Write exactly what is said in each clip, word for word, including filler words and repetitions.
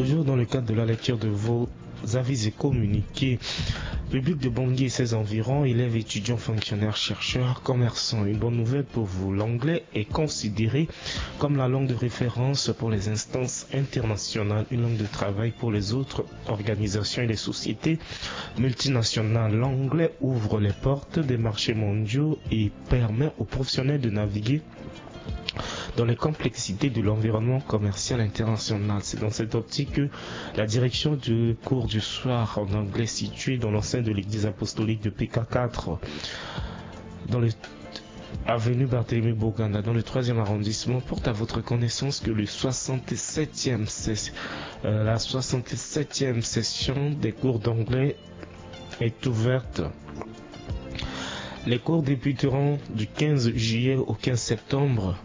Dans le cadre de la lecture de vos avis et communiqués, public de Bangui et ses environs, élèves, étudiants, fonctionnaires, chercheurs, commerçants, une bonne nouvelle pour vous. L'anglais est considéré comme la langue de référence pour les instances internationales, une langue de travail pour les autres organisations et les sociétés multinationales. L'anglais ouvre les portes des marchés mondiaux et permet aux professionnels de naviguer dans les complexités de l'environnement commercial international. C'est dans cette optique que la direction du cours du soir en anglais, située dans l'enceinte de l'église apostolique de P K quatre, dans le avenue Barthélemy Boganda, dans le troisième arrondissement, porte à votre connaissance que le soixante-septième ses-, euh, la soixante-septième session des cours d'anglais est ouverte. Les cours débuteront du quinze juillet au quinze septembre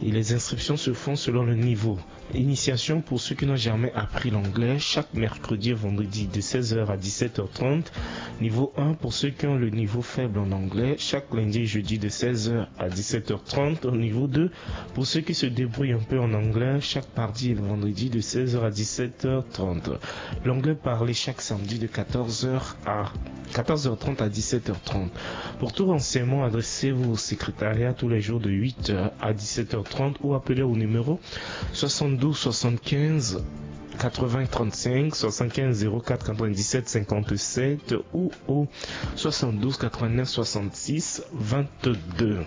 et les inscriptions se font selon le niveau. Initiation pour ceux qui n'ont jamais appris l'anglais, chaque mercredi et vendredi de seize heures à dix-sept heures trente. Niveau un pour ceux qui ont le niveau faible en anglais, chaque lundi et jeudi de seize heures à dix-sept heures trente. Niveau deux pour ceux qui se débrouillent un peu en anglais, chaque mardi et le vendredi de seize heures à dix-sept heures trente. L'anglais parlé chaque samedi de quatorze heures à quatorze heures trente à dix-sept heures trente. Pour tout renseignement, adressez-vous au secrétariat tous les jours de huit heures à dix-sept heures trente ou appelez au numéro soixante-douze soixante-quinze quatre-vingts trente-cinq, soixante-quinze zéro quatre quatre-vingt-dix-sept cinquante-sept ou au soixante-douze quatre-vingt-neuf soixante-six vingt-deux.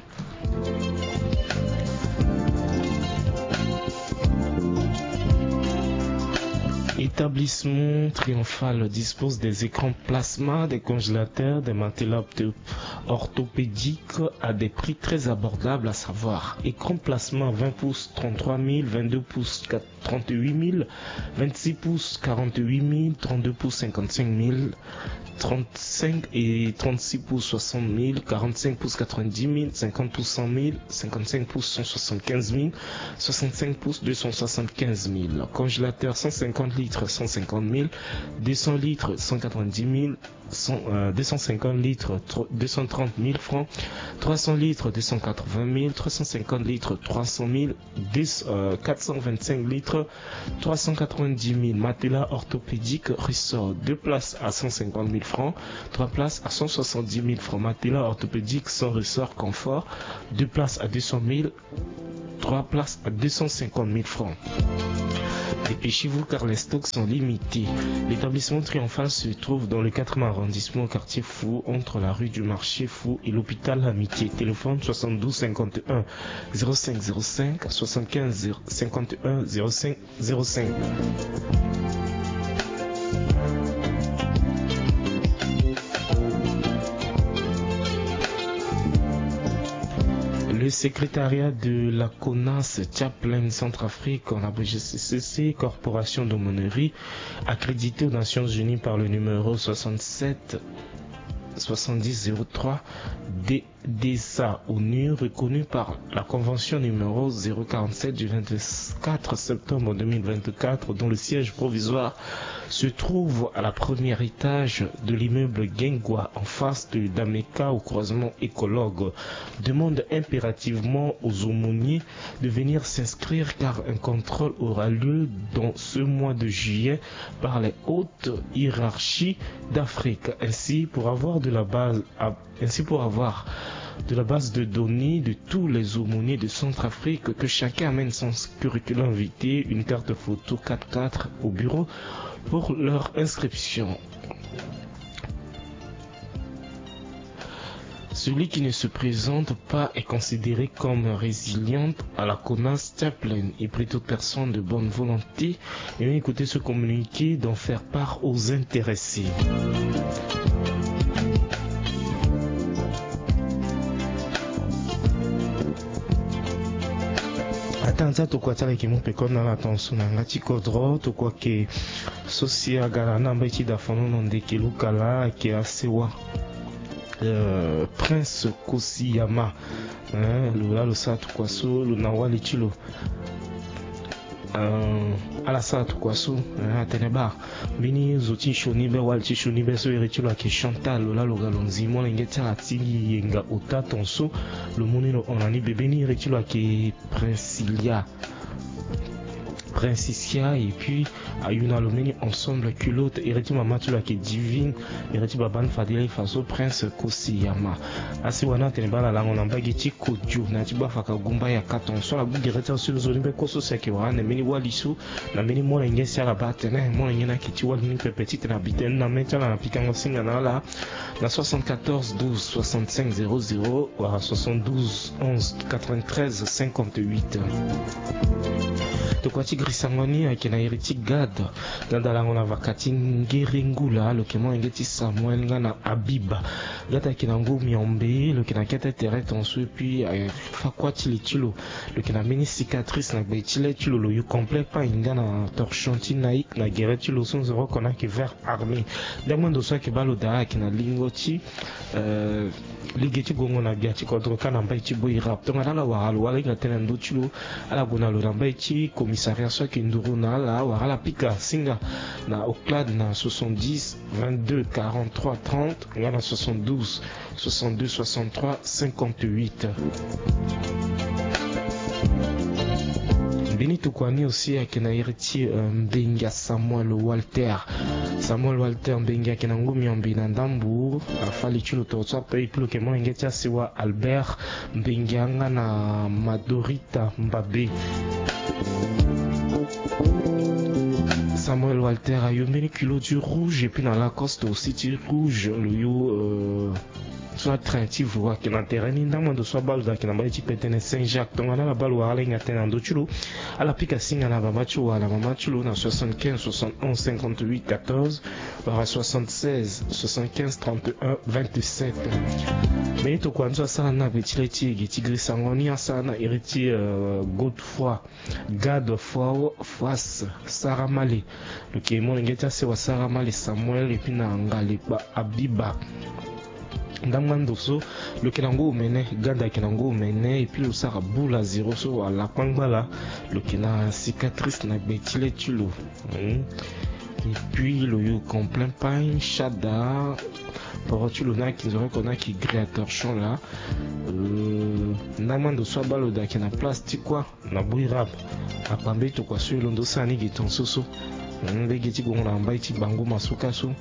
Établissement Triomphal dispose des écrans plasma, des congélateurs, des matelas ortho-, orthopédiques à des prix très abordables, à savoir écran plasma vingt pouces, trente-trois mille, vingt-deux pouces, quatre-, trente-huit mille, vingt-six pouces, quarante-huit mille, trente-deux pouces, cinquante-cinq mille, trente-cinq et trente-six pouces, soixante mille, quarante-cinq pouces, quatre-vingt-dix mille, cinquante pouces, cent mille, cinquante-cinq pouces, cent soixante-quinze mille, soixante-cinq pouces, deux cent soixante-quinze mille. Congélateur cent cinquante litres, cent cinquante mille, deux cents litres, cent quatre-vingt-dix mille, cent, euh, deux cent cinquante litres, tro-, deux cent trente mille francs, trois cents litres, deux cent quatre-vingt mille, trois cent cinquante litres, trois cent mille, deux, euh, quatre cent vingt-cinq litres, trois cent quatre-vingt-dix mille. Matelas orthopédique ressort, deux places à cent cinquante mille francs, trois places à cent soixante-dix mille francs. Matelas orthopédique sans ressort confort, deux places à deux cent mille, trois places à deux cent cinquante mille francs. Dépêchez-vous car les stocks sont limités. L'établissement Triomphal se trouve dans le quatrième arrondissement, au quartier Fou, entre la rue du Marché Fou et l'hôpital Amitié. Téléphone soixante-douze cinquante et un zéro cinq zéro cinq, soixante-quinze cinquante et un zéro cinq zéro cinq. Le secrétariat de la CONAS Chaplain Centrafrique, en abrégé C C C, Corporation d'aumônerie, accrédité aux Nations Unies par le numéro soixante-sept soixante-dix zéro trois D D S A, ONU, reconnu par la convention numéro zéro quarante-sept du vingt-quatre septembre deux mille vingt-quatre, dont le siège provisoire se trouve à la première étage de l'immeuble Gengwa, en face de Dameka, au croisement Écologue, demande impérativement aux aumôniers de venir s'inscrire car un contrôle aura lieu dans ce mois de juillet par les hautes hiérarchies d'Afrique. Ainsi, pour avoir de la base à, ainsi, pour avoir de la base de données de tous les aumôniers de Centrafrique, que chacun amène son curriculum vitae, une carte photo quatre quatre au bureau pour leur inscription. Celui qui ne se présente pas est considéré comme résiliant à la CONAS Chaplain et prie toute personne de bonne volonté et écouter ce communiqué d'en faire part aux intéressés. Ata nza tokua ti ala yeke mu peko na ala tongaso na yanga ti kodro, tokua ke so si aga na ambai ti dafono na ndeke lukala ayeke asewa, euh, Prince Kosiyama. Hein, lo laa lo sara tokua so lo na wali ti lo. Euh, ala sara tokua so, hein, atene baa mbeni zo ti sioni be, wali ti sioni be so iri ti lo ayeke Chantal, lo laa lo ga lo nzi molenge ti ala ti yenga ota tongaso. Lo mu ni lo hon na ni bebe ni, iri ti lo ayeke Princilia. Prince Isia, et puis ayu na lo mbeni ensemble culotte, iri ti mama ti lo ayeke Divine, iri ti baba ni fade laa e fa so Prince Kosiyama. Asi wani atene baa na lango na mbage ti Kodjo na ya ti Bafaka Gumba ya Katon so ala gbu gere ti aso ti nzoni be kue so si ayeke wara ande mbeni wali so na mbeni molenge si ala baa atene molenge ni ayeke ti wali ni pepe titene abi tënë ni na mê ti ala na pikango singa na ala na soixante-quatorze douze soixante-cinq zéro zéro wala soixante-douze onze quatre-vingt-treize cinquante-huit. Tokua ti girisango ni ayeke na iri ti Gad. Gad alango na vaka ti Ngere Ngula, lo yeke molenge ti Samuel nga na Abiba. Gad ayeke na ngu miombe, lo yeke na kete tere tonso, et puis afa kuâ ti li ti lo. Lo yeke na mbeni cicatrice na gbe ti le ti lo, lo yu complet pain nga na torchon ti Nike na gere ti lo so nzoni oko ni ayeke vert armé. Ndambo ndo so ayeke baa lo daa ayeke na lingo ti, euh, lege ti gongo na gbia ti kodro kâ na mbai ti Boirap. Tongana ala wara lo wala hinga tënë na ndö ti lo, ala gue na lo na mbai ti commissariat so ayeke nduru na ala wala ala pika singa na Oclad na soixante-dix vingt-deux quarante-trois trente nga na soixante-douze soixante-deux soixante-trois cinquante-huit. Mbeni tokua ni aussi ayeke na iri ti, euh, Mbengia Samuel Walter. Samuel Walter Mbengia ayeke na ngu miombe na ndambo. Afa li ti lo toro so ape, et puis lo yeke molenge ti asewa Albert Mbengia nga na Madorita Mbabe. Samuel Walter ayu mbeni culotte ti rouge et puis na Lacoste aussi ti rouge, lo yu, euh, so atrain ti vo ayeke na tere ni. Ndambo ndo so abaa lo daa ayeke na mbai ti Petene Saint-Jacques. Tongana ala baa lo wala ala hinga tënë na ndö ti lo, ala pika singa na baba ti lo wala mama ti lo na soixante-quinze soixante-onze cinquante-huit quatorze wala soixante-seize soixante-quinze trente et un vingt-sept. Mbeni tokua ni so asara ni na gbe ti le ti e gi ti girisango ni asara ni na iri ti, euh, Godefroid, Godefroid Fas Saramale. Lo yeke molenge ti asewa Saramale Samuel et puis na Ngalekpa Abiba. Ndambo ndo so lo yeke na ngu omene, Gad ayeke na ngu omene, et puis lo sara boule à zéro so wala kpangba laa. Lo yeke na cicatrice na gbe ti le ti lo. Hmm. Et puis lo yu complet pain, shada, poro ti lo ni ayeke nzoni oko ni ayeke gris à torchon laa. Euh, ndambo ndo so abaa lo daa ayeke na place ti kuâ na Boirap. Akpa mbeni tokua so e londo sara ni gi tongaso so. Hmm, lege ti gongo na mbai ti bango masuka so.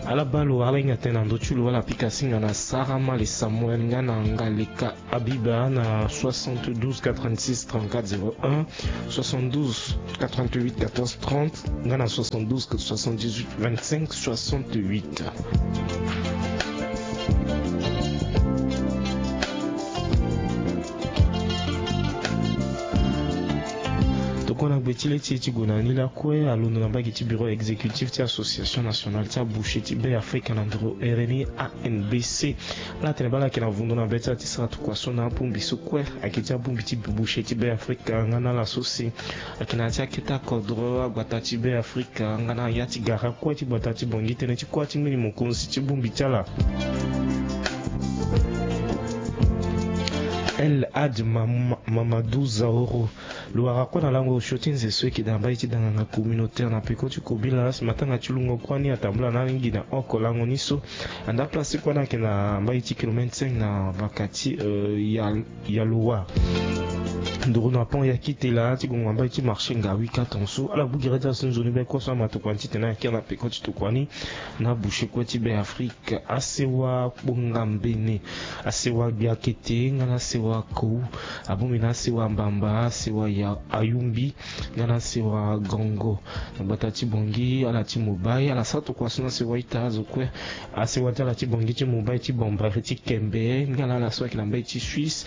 Ala baa lo wala ala hinga tënë na ndö ti lo, ala pika singa na Saramale Samuel nga na Ngaleka Abiba na soixante-douze quatre-vingt-six trente-quatre zéro un, soixante-douze quatre-vingt-huit quatorze trente nga na soixante-douze soixante-dix-huit vingt-cinq soixante-huit. Tokua na gbe ti le ti e ti gue na ni lakue alondo na mbage ti bureau exécutif ti Association Nationale ti Aboucher ti Be Afrika na nduru ere ni, A N B C. Ala tene baa ala yeke na vundo na be ti ala ti sara tokua so na abongbi so kue ayeke ti abongbi ti boucher ti Be Afrika nga na ala so si ayeke na ya ti akete akodro agbata ti Be Afrika nga na ya ti gara kue ti gbata ti Bangui. Tënë ti kuâ ti mbeni mokonzi ti bongbi ti ala, El Hadj Mam-, Mamadou Zaoro. Lo wara kue na lango osio ti nze so e yeke daa mbai ti danganga communautaire na peko ti kobila si matanga ti lungo kuâ ni atambula na alingbi na oko lango ni so. Anda place ti kuâ ni ayeke na mbai ti kilomètre cinq na vaka ti, euh, ya, ya Lowa. Nduru na pont ya Kitela ti gongo na mbai ti marché Ngawi Katon so. Ala gbu gere ti aso ti nzoni be kue so ama tokua ni titene ayeke na peko ti tokua ni na boucher kue ti Be Afrika. Asewa Kpongambene, asewa Gbiakete nga na asewa Kou, abongbi na asewa Mbamba, asewa ya Ayumbi nga na asewa Gongo. Na gbata ti Bangui, ala ti Mumbai, ala sara tokua so na asewa ita azo kue. Asewa ti ala ti Bangui ti Mumbai ti Bombari ti Kembe nga na ala so ayeke na mbai ti Suisse.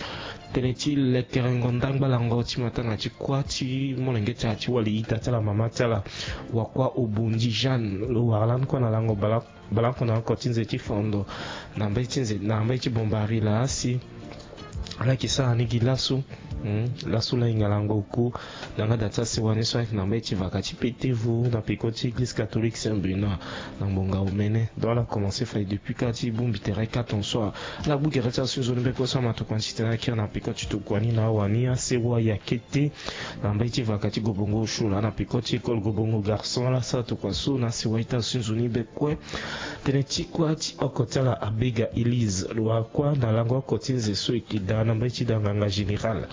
Tënë ti lekerengo ndangba lango ti matanga ti kuâ ti molenge ti ala ti wali ita ti ala mama ti ala, Wakua Obondi Jeanne, lo wara lani kue na lango bala bale oko na oko ti nze ti fondo na mbeti nze na mbeti bombari laa si ala yeke sara ni gi laso. Hmm, laso laa hinga lango oko na nga da ti asewa ni so ayeke na mbeti vaka ti petevo na peko ti église catholique Saint Benoît na ngbonga omene. Donc ala commencé fade depuis kâ ti bongbi tere kâ ton so. Ala gbu gere ti aso ti nzoni mbeko so ama tokua ni titene ala kiri na peko ti tokua ni na awani asewa ya kete na mbeti vaka ti gobongo osio laa na peko ti école gobongo garçon. Ala sara tokua so na asewa ita aso ti nzoni be kue. Tënë ti kuâ ti oko ti ala Abega Elise lo wara kuâ na lango oko ti nze so e yeke daa na mbeti da nganga général.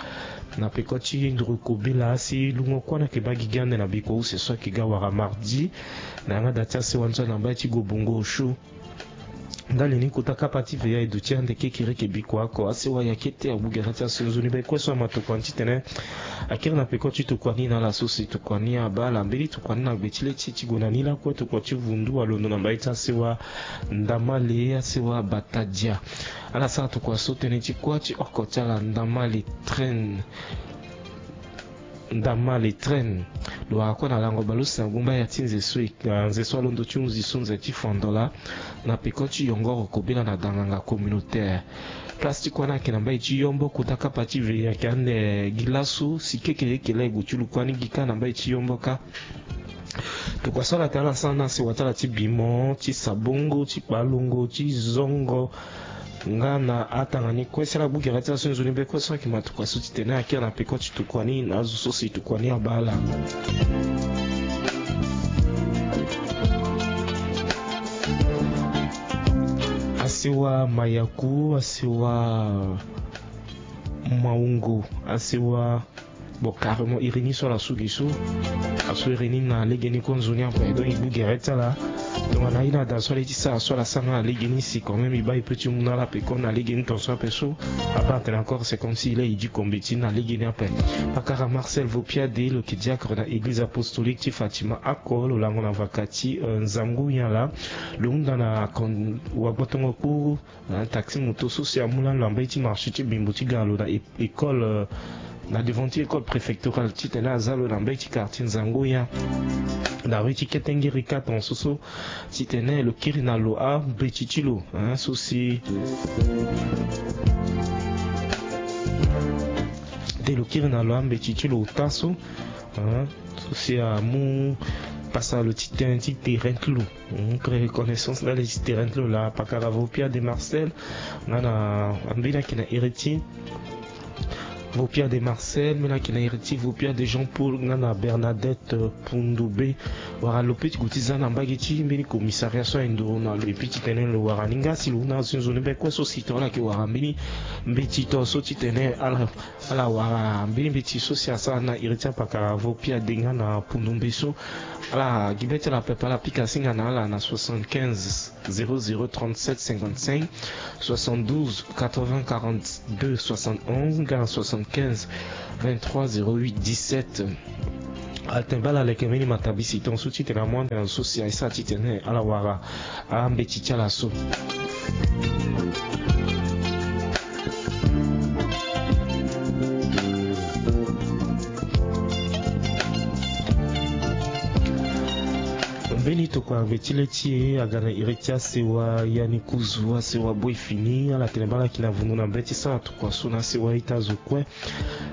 Na peko ti nduru kobela si lungo kue na yeke baa gigi ande na bikua use so ayeke ga wara mardi. Na yanga da ti asewa ni so na mbai ti Gobongo Osio. Ndali ni kota kapa ti veya e duti ande kekereke bikua oko. Asewa ya kete agbu gere ti aso nzoni be kue so ama tokua ni titene akiri na peko ti tokua ni na ala so si tokua ni abaa ala mbeni tokua ni na gbe ti le ti ti gue na ni lakue tokua ti vundu alondo na mbai ti asewa Ndamale, asewa Batadia. Ala sara tokua so tënë ti kuâ ti oko ti ala Ndamale Train. Ndamale Train. Lo wara kue na lango bale use na gumba ya ti nze so e, ah, nze so alondo ti hunzi so nze ti Fondola, na peko ti yongoro kobela na danganga communautaire. Place ti kuâ ni ayeke na mbai ti Yombo, kota kapa ti ve ayeke ande gi laso si kekereke laa e gue ti lu kuâ ni gi kâ na mbai ti Yombo kâ. Tokua so ala tene ala sara na asewa ti ala ti bimo, ti sabongo, ti kpalongo, ti zongo. Nga na atanga ni kue si ala gbu gere ti aso nzoni be kue so ayeke ma tokua so titene akiri na peko ti tokua ni na azo so si tokua ni abaa ala. Asewa Mayaku, asewa Maungo, asewa Bon, carrément, iri ni so ala su gi so. Asu iri ni na legeni kue nzoni ape. Donc, e gbu gere ti ala. Donc, tongana aye na da so ala ye ti sara so ala sara nga na legeni si quand même e baa e peut ti mu na ala ape kue na legeni tongaso ape so. Abaa atene encore, c'est comme si e laa e di kombeti na legeni ape. Pakara Marcel Vopiade, lo yeke diacre na église apostolique ti Fatima oko, lo lango na vaka ti, euh, nzangu nyen laa. Lo hunda na kon-, wagbotongo kpuru, hein, taxi moto so si amu lani lo na mbage ti marché ti Bimbo ti ga lo na é-, école, euh, na devant ti école préfectorale titene aza lo na mbage ti quartier Nzangoya. Na rue ti Ketengeri quatre ans so so titene lo kiri na lo ambeti ti lo, hein, so si de lo kiri na lo ambeti ti lo ota so, hein, so si amu pasa lo ti tënë ti terrain ti lo. Hmm, pré reconnaissance ndali ti terrain ti lo laa, pakara Vopia de Marcel, nga na ambeni ayeke na iri ti Vopia de Marcel, mbeni ayeke na iri ti Vopia de Jean Paul, nga na Bernadette, euh, Pundube. Wara lo peut ti gue ti za na mbage ti mbeni commissariat so aye nduru na lo, et puis titene lo wara ni nga si lo hunda azo ti nzoni be kue so si tongana ala yeke wara mbeni mbeti tongaso titene ala Ala wara mbeni mbeti so si asara na iri ti apakara Vopia de nga na Pundumbe so. Ala gi be ti ala pepe, ala pika singa na ala na soixante-quinze zéro zéro trente-sept cinquante-cinq, soixante-douze quatre-vingts quarante-deux soixante-onze, nga na soixante-quinze vingt-trois zéro huit dix-sept. Atene baa ala leke mbeni matabisi tongaso titene amu ande na zo so si aye sara titene ala wara ambeti ti ala so. Mbeni tokua ngbe ti le ti e aga na iri ti asewa Yanikuzu, asewa Boy Fini, ala tene baa ala yeke na vundu na mbeti sara tokua so na asewa ita zo kue.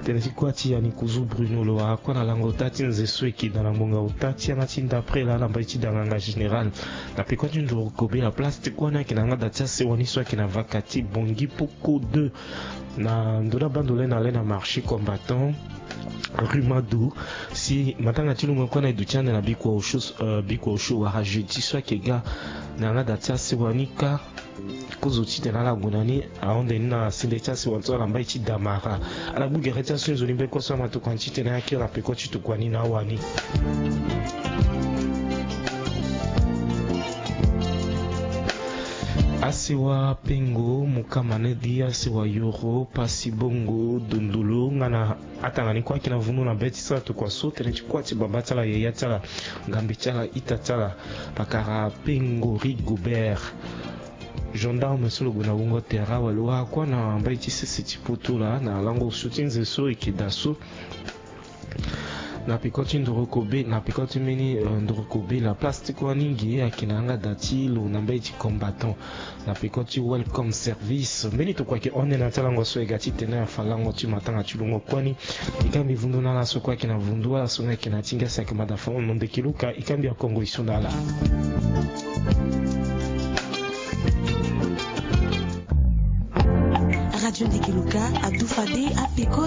Tënë ti kuâ ti Yanikuzu Bruno, lo wara kue na lango ota ti nze so e yeke daa na ngbonga ota ti yanga ti ndapre laa na mbage ti danganga général. Na peko ti nduru kobe na place ti kuâ ni ayeke na yanga da ti asewa ni so ayeke na vaka ti Bangui Poko deux. Na ndo ni abaa ndo le na le na marché combattant, rue Mado. Si matanga ti lungo kue na e duti ande na bikua osio, euh, bikua osio wala jeudi so ayeke ga na yanga da ti asewa ni kâ. Kozo titene ala gue na ni ahon nde ni na sende ti asewa so ala mbai ti damara. Ala gbu gere ti aso nzoni be kue so ama tokua ni titene akiri na peko ti tokua ni na awani. Asewa Pengo, Mukamanedi, asewa Yoro, Pasi Bongo, Dondolo, nga na atanga ni kue ayeke na vundu na be ti sara tokua so, tënë ti kuâ ti baba ti ala, yaya ti ala, ngambe ti ala, ita ti ala, pakara Pengo Rigobert. Gendarme so lo gue na wungo tere awe, lo wara kue na mbage ti sese ti poto laa na lango osio ti nze so e yeke daa so. Na peko ti nduru kobe, na peko ti mbeni, euh, nduru kobe laa, place ti kuâ ni ge ayeke na yanga da ti lo na mbage ti combattant. Na peko ti Welcome Service. Mbeni tokua ayeke hon nde na ya ti alango so e ga titene afa lango ti matanga ti lungo kue ni. E ga mbi vundu na ala so kue ayeke na vundu, ala so nga ayeke na ya ti ngia si ayeke mada fa ono ndeke luka, e ga mbi akongo e so na ala. Radio Ndeke Luka adu fade apeko